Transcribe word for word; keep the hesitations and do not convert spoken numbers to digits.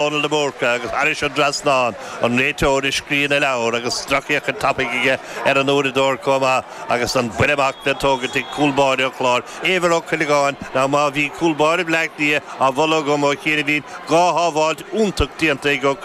Dónal de Búrca agus thairis an dtrasnán an réiteoir ag scríobh na leabhar agus drochfhéachaint tapaidh aige ar an uaireadóir chomh maith agus an buille amach le tógaint ag cúl báire an Chláir Éibhear Ó Cuileagáin ná má bhí cúl báire Bhleá Cliath á mholadh agam ó chianaibh dhá shábháilt iontach déanta ag Ó